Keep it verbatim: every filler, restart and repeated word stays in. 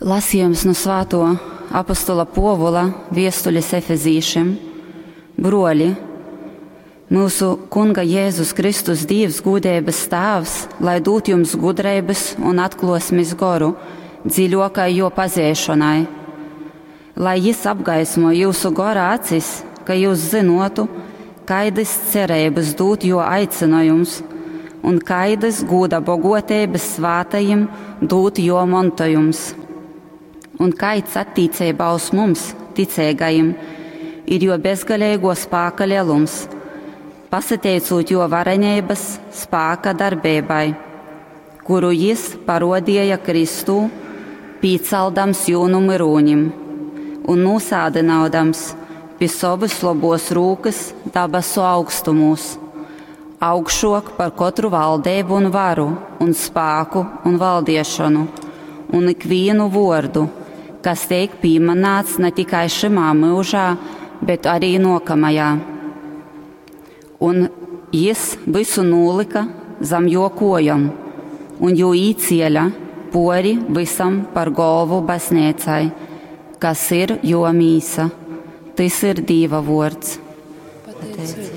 Lasījums nu svātuo apostola Puovula viestulis Efezīšim. Bruoli, myusu Kunga Jēzus Kristus Dīvs gūdeibys Tāvs, lai dūd jums gudreibys un atkluosmis goru dziļuokai juo pazeišonai. Lai jis apgaismo jūsu gora acis, ka jūs zynotu, kaidys cereibys dūd juo aicynojums un kaidys gūda boguoteibys svātajim dūd juo montojums. Un kaids attīceibā uz mums, ticeigajim, ir juo bezgaleiguo spāka lielums, pasateicūt juo vareneibys spāka darbeibai, kuru jis parodieja Kristū, pīcaldams jū nu myrūnim un nūsādynaudams pi sovys lobuos rūkys dabasu augstumūs, augšuok par kotru valdeibu un varu un spāku un valdiešonu un ikvīnu vuordu, kas teik pīmanāts ne tikai šymā myužā, bet arī nuokamajā. Un jis vysu nūlyka zam juo kuojom un jū īcieļa puori vysam par golvu bazneicai, kas ir juo mīsa. Tys ir Dīva vuords. Pateiceiba